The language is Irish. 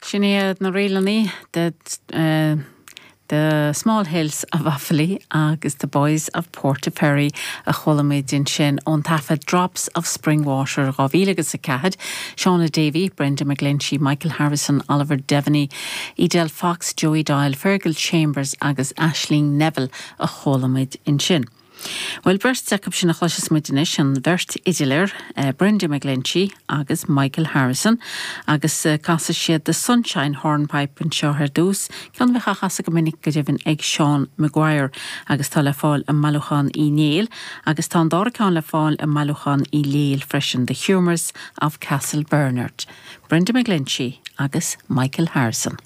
Sin iad na ríleanna The The Small Hills of Offaly agus The Boys of Portaferry a chuala muid ansin ón taifead Drops of Spring Water 2004, Shauna Davey, Brenda McGlinchey, Michael Harrison, Oliver Devaney, Edel Fox, Joey Doyle, Fergal Chambers agus Aisling Neville a chuala muid ansin. Bhuel, beirt acu sin a chloisfeas muid anois, an bheirt fhidléir, Brenda McGlinchey agus Michael Harrison, agus casfaidh siad The Sunshine Hornpipe anseo ar dtús, ceann a bheadh á chasadh go minic go deimhin ag Seán Maguire, agus tá le fáil i mBailiúchán Uí Néill, agus tá an dara ceann le fáil i mBailiúchán Uí Néill freisin, The Humours of Castlebernard, Brenda McGlinchey agus Michael Harrison.